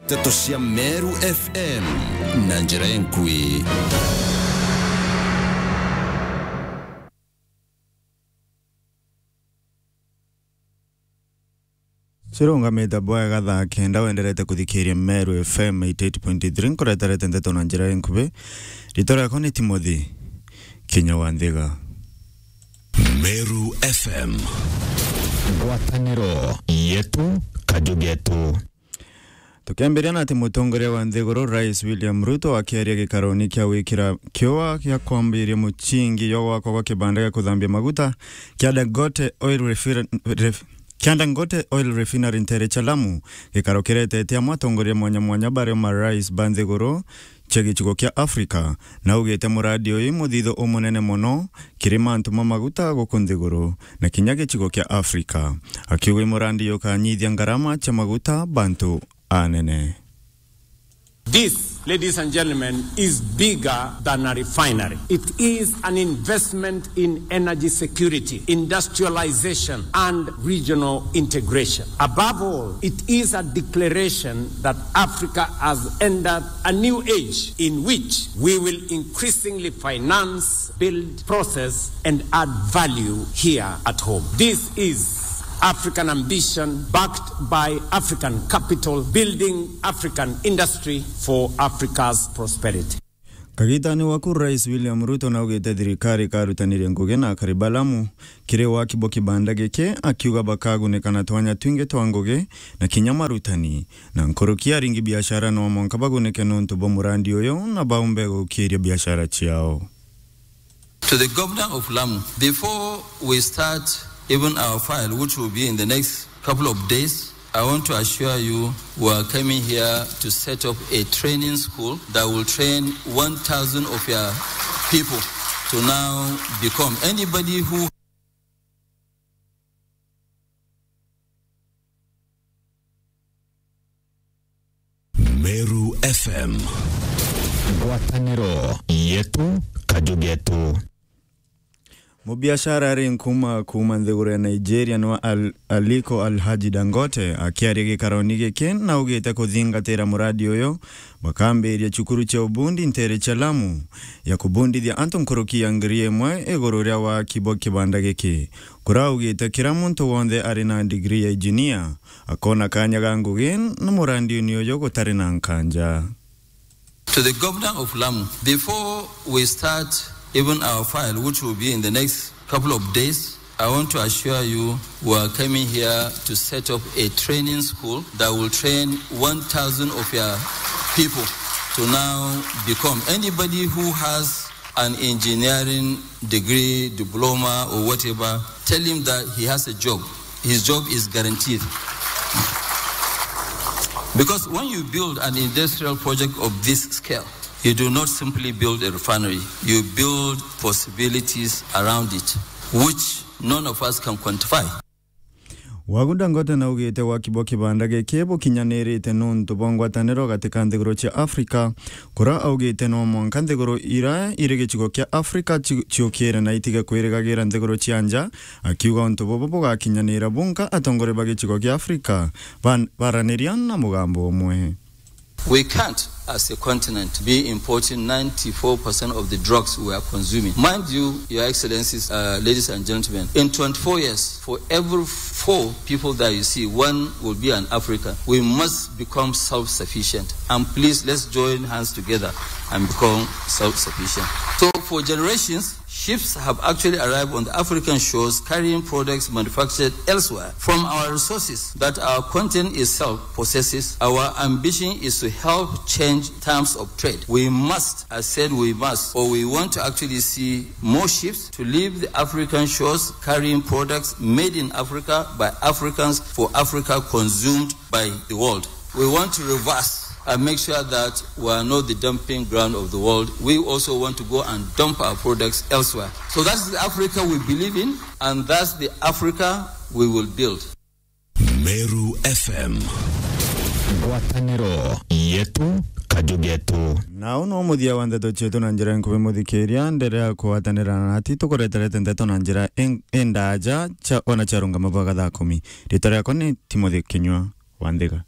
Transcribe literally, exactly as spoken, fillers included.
Nteto cia Meru F M na njira enkui. Cirungamite bwega thaa kenda, wenderete kuthikiria Meru F M eighty eight point three, nkureterete nteto na njira enkubi. Ritwa riakwa ni Timothy Kinya wa Nthiga. Meru F M. Ngwataniro yetu, kaju getu. Tukiambiria na ati mutongoria wa nthiguru, Rais William Ruto, akiaria gikaroni kia gwikira kiua gia kwambiria mucingi jwa gwakwa gwa kibanda gia kuthambia maguta kia Dangote Oil Refin-, Ref-, kia Dangote Oil Refinery ntere cia Lamu, gikaro kiretete amwe atongoria mwanya mwanya bario marais ba nthiguru cia gicigo kia Afrika, na augite murandi uyu muthitho umunene mono kiri mantu ma maguta guku nthiguru na kinya gicigo kia Afrika, akiuga murandi uyu ukanyithia ngarama cia maguta bantu anene. This, ladies and gentlemen, is bigger than a refinery. It is an investment in energy security, industrialization, and regional integration. Above all, it is a declaration that Africa has entered a new age in which we will increasingly finance, build, process, and add value here at home. This is African ambition backed by African capital, building African industry for Africa's prosperity. Kagitani waku, Rais William Ruto naugite thirikari ikarutaniria ngugi na akari ba Lamu kiri waki bwa kibanda giki, akiuga bakagunika na twanya twingi twa ngugi na kinya marutani, na nkuruki aringi biashara no mwanka bagunike nontu bwa murandi uyu na baumbe gukiria biashara ciao. To the governor of Lamu, before we start even our file, which will be in the next couple of days, I want to assure you we are coming here to set up a training school that will train one thousand of your people to now become anybody who Meru F M. Ngwataniro yetu, kaju getu. Mubiashara ari nkuma kuuma nthiguru ya Nigeria niwe Al-, Aliko Alhaji Dangote, akiaria gikaroni giki, naugite kuthingatira muradi uyu, bakambiria cukuru cia ubundi ntere cia Lamu ya kubundithia antu nkuruki ya ngiri imwe iguru ria waki bwa kibanda giki. Kuraugite kira muntu wonthe ari na degree ya engineer akona kanya ga ngugi na murandi uni uyu gutari na nkanja. To the governor of Lamu, before we start even our file, which will be in the next couple of days, I want to assure you we are coming here to set up a training school that will train one thousand of your people to now become anybody who has an engineering degree, diploma, or whatever, tell him that he has a job. His job is guaranteed. Because when you build an industrial project of this scale, you do not simply build a refinery, you build possibilities around it, which none of us can quantify. Wagu Dangote naugite waki bwa kibanda giki bukinyanirite nontu bwa ngwataniro gati ka nthiguru cia Afrika, kura augite no mwanka nthiguru ira iri gicigo kia Afrika ci-, ciukire na itige kwirigagira nthiguru cia nja, akiuga untu bubu bugakinyanira bunka atongoria ba gicigo kia Afrika ban-, baraniria na mugambo umwe. We can't, as a continent, be importing ninety-four percent of the drugs we are consuming. Mind you, Your Excellencies, uh, ladies and gentlemen, in twenty-four years, for every four people that you see, one will be an African. We must become self-sufficient. And please, let's join hands together and become self-sufficient. So, for generations, ships have actually arrived on the African shores carrying products manufactured elsewhere. From our resources that our continent itself possesses, our ambition is to help change terms of trade. We must, I said we must, or we want to actually see more ships to leave the African shores carrying products made in Africa by Africans for Africa, consumed by the world. We want to reverse and make sure that we are not the dumping ground of the world. We also want to go and dump our products elsewhere. So that's the Africa we believe in, and that's the Africa we will build. Meru F M. Ngwataniro yetu, kaju getu. Na uu no muthia wa ndeto cietu na njira nkuvi muthikiria, nderea kugwatanira nati tukureterete ndeto na njira in-, indaja cia, ona ciarungama bwaga thaa kumi. Ritwa riakwa ni Timothy Kinyua wa Nthiga.